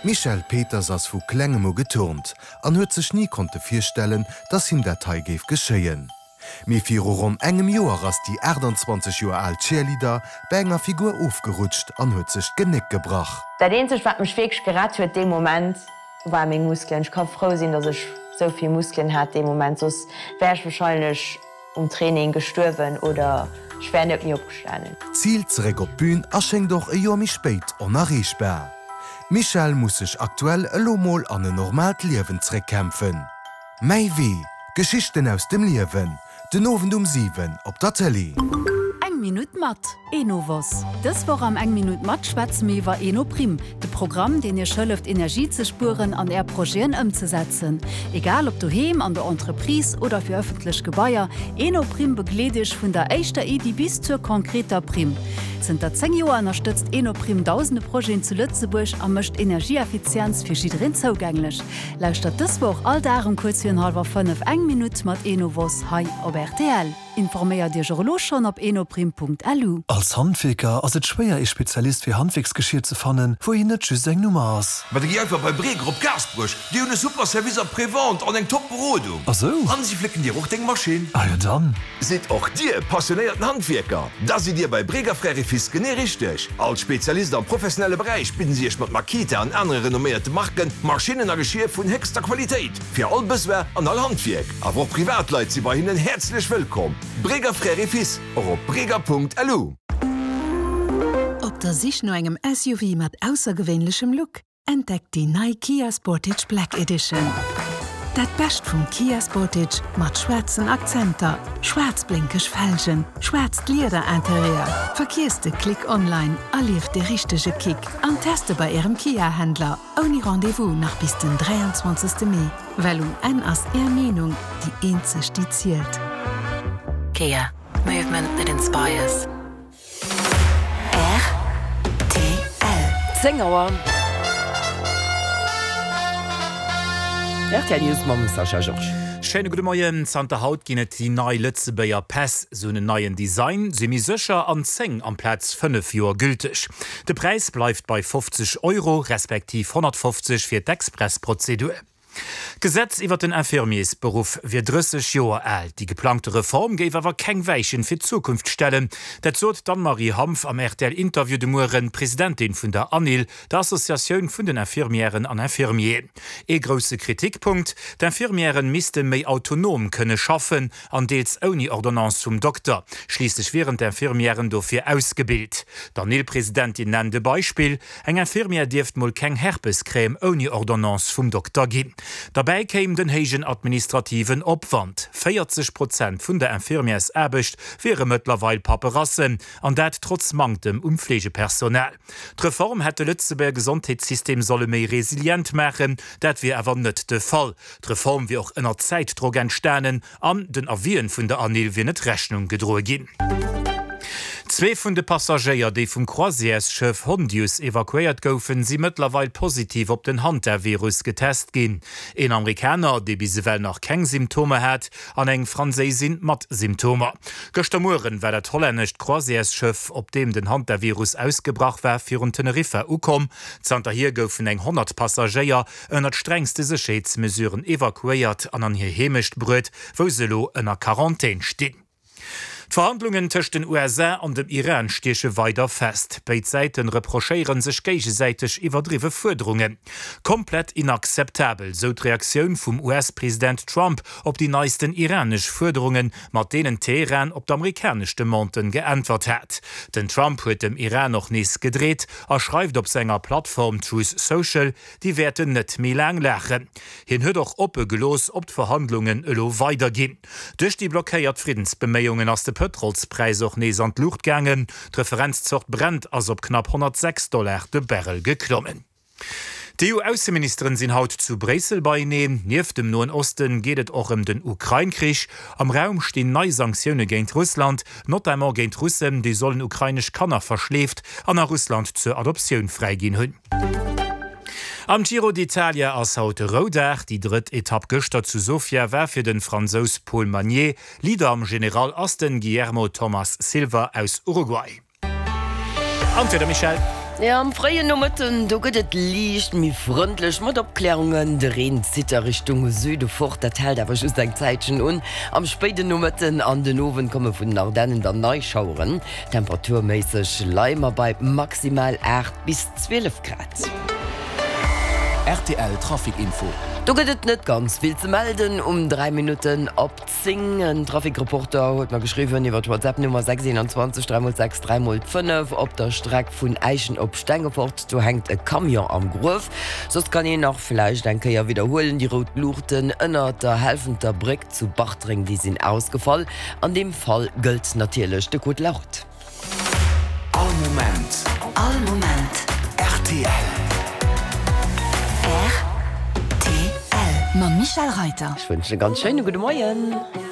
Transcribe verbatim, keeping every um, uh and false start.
D'Michèle Peters ass vu klengem u geturnt an huet sech ni konnte virstellen, dass him dat hei géif geschéien. Mee viru ronn engem Joer ass déi achtanzwanzeg Joer al Cheerleader bei enger Figur ofgerutscht an huet sech d'Genéck gebrach. Dat eenzegt, wat mech wierklech gerett huet dee Moment, war meng Muskelen. Ech ka frou sinn, dass ech sou vill Muskelen hat dee Moment, soss wär ech warscheinlech um Training gestuerwen oder ech wär net méi opgestanen. D'Zil zeréck op d'Bün a schéngt och e Joer méi spéit onerreechbar. D'Michèle muss sech aktuell elo mol an en normaalt Liewen zeréckkämpfen. Mäi Wee, Geschichten aus dem Liewen, den Owend um siwen op der Tëlee. Eng Minutt mat Enovos. Dës Woch am Eng Minutt mat schwätze mir iwwer Enoprim, de Programm, deen Iech hëlleft, Energie ze spueren an Är Projeten ëmzesetzen. Egal ob doheem, an der Entreprise oder fir ëffentlech Gebaier, Enoprim begleet Iech vun der éischter Iddi bis zur konkreter Primm. Zënter zéng Joer ënnerstëtzt Enoprim dausende Projeten zu Lëtzebuerg a mécht Energieeffizienz fir jiddereen zougänglech. Lauschtert dës Woch all Dag um kuerz virun hallwer fënnef Eng Minutt mat Enovos hei op rtl. Informéiert Iech och elo schonn op enoprim.lu. Als Handwierker ass et schwéier ee Spezialist fir Handwierksgeschier ze fannen, wou een net just eng Nummer ass. Ma da gi einfach bei Breger op Gaasperech, déi hunn e super Service après-vente an eng top Berodung. Ah sou? An si flécken dir och deng Maschinn. Ah jo dann. Sidd och dir passionéierten Handwierker? Da sidd dir bei Breger Frères et Fils genee richteg. Als Spezialist am professionelle Beräich bidden si iech mat Makita an anere renomméierte Marken Maschinnen a Geschier vun héchster Qualitéit fir all Besoin an all Handwierk. Awer och Privatleit si bei hinnen häerzlech wëllkomm. Breger Frères et Fils, och op breger.lu. Op der Sich no engem S U V mat aussergewéinlechem Look? Entdeckt déi nei Kia Sportage Black Edition. Dat Bescht vum Kia Sportage mat schwaarzen Akzenter, schwaarz blénkeg Felgen, schwaarzt Liederinterieur. Vergiesst de Klick online, erlieft de richtege Kick an teste bei Ärem Kia-Händler ouni Rendez-vous nach bis den dräianzwanzegste Mee. Well um Enn ass Är Meenung déi eenzeg déi zielt. Kia. Movement that inspires. R T L. Zéng Auer. R T L News mam Sascha Georges. Schéine gudde Moien. Zanter haut ginn et déi nei Lëtzebuerger Päss. Se hunn en neien Design, si méi sécher an zéng amplaz fënnef Joer gülteg. De Präis bleift bei fofzeg Euro, respektiv honnertfofzeg fir d'Expressprozedur. D'Gesetz iwwer den Infirmiersberuff wier drësseg Joer al. Déi geplangte Reform géif awer keng Weichen fir d'Zukunft stellen. Dat sot d'Anne-Marie Hanff am R T L-Interview de Mueren, Presidentin vun der ANIL, der Associatioun vun den Infirmièren an Infirmieren. Ee grousse Kritikpunkt, D'Infirmièren misste méi autonom kënne schaffen an deels ouni Ordonnance vum Dokter. Schliisslech wieren d'Infirmièren dofir ausgebilt. D'ANIL-Presidentin nennt e Beispill, Eng Infirmière dierft mol keng Herpescrème ouni Ordonnance vum Dokter ginn. Derbäi kéim den héijen administrativen Opwand. véierzeg Prozent vun der Infirmièrsaarbecht wiere mëttlerweil Paperasse, an dat trotz Manktem um Fleegepersonal. D'Reform hätt de Lëtzebuerger Gesondheetssystem solle méi resilient maachen, dat wier awer net de Fall. D'Reform wier och ënner Zäitdrock entstanen an den Avisen vun der ANIL wier net Rechnung gedroe ginn. Zwee vun de Passagéier, déi vum Croisièresschëff Hondius evakuéiert goufen, si mëttlerweil positiv op den Hantavirus getest ginn. Een Amerikaner, dee bis ewell nach keng Symptomer hat, an eng Franséisin mat Symptomer. Gëschter Mueren war dat hollännescht Croisièresschëff, op deem den Hantavirus ausgebrach war, virun Teneriffa ukomm. Zanterhier goufen eng honnert Passagéier ënnert strengste Sécherheetsmesuren evakuéiert an an hir Heemecht bruecht, wou se elo ënner Quarantän stinn. D'Verhandlungen tëscht den U S A an dem Iran stieche weider fest. Béid Säite reprochéiere sech géigesäiteg iwwerdriwwe Fuerderungen. Komplett inakzeptabel, sou d'Reaktioun vum U S-President Trump op déi neisten iranesch Fuerderungen, mat deenen Teheran op d'amerikanesch Demanden geäntwert hat. Den Trump huet dem Iran och nees gedreet a schreift op senger Plattform Truth Social, déi wäerten net méi laang laachen. Hien huet och oppe gelooss, ob d'Verhandlungen elo weiderginn. Duerch déi blockéiert Friddensbeméiungen ass de Pëtrolspräis och nees an d'Luucht gaangen. D'Referenzzort Brent ass op knapp honnertsechs Dollar de Barrel geklommen. D'E U-Ausseministeren sinn haut zu Bréissel beieneen. Nieft dem Noen Osten geet et och ëm den Ukrain-Krich. Am Raum stinn nei Sanktioune géint Russland, notamment géint Russen, déi sollen ukrainesch Kanner verschleeft an a Russland zur Adoptioun fräiginn hunn. Am Giro d'Italia ass haut Roudag. Déi drëtt Etapp gëschter zu Sofia war fir de Fransous Paul Magnier. Leader am General ass den Guillermo Thomas Silva aus Uruguay. An d'Wieder, Michèle. Jo, am fréien Nomëtten, do gëtt et liicht méi frëndlech mat Opklärungen. De Reen zitt a Richtung Süde fort, dat hält awer just eng Zäitchen un. Am spéiden Nomëtten an den Owend komme vun den Ardennen dann nei Schaueren. Temperaturméisseg leie mer bei maximal aacht bis zwielef Grad. Rtl Trafic Info. Do gëtt et net ganz vill ze melden um dräi Minutten op zéng. En Trafic-Reporter huet mer geschriwwen iwwer d'WhatsApp Nummer sechs eenanzwanzeg dräi mol sechs dräi mol fënnef, op der Streck vun Äischen op Stengefort, do hänkt e Camion am Gruef. Soss kann een nach vläicht eng Kéier widderhuelen, déi rout Luuchten ënner der Helfenter Bréck zu Bartreng, déi sinn ausgefall. An deem Fall gëllt natierlech de Code de la Route. All Moment. All Moment. Rtl. Rtl. Mam Michel Reiter. Ech wënschen e ganz schéine gudde Moien.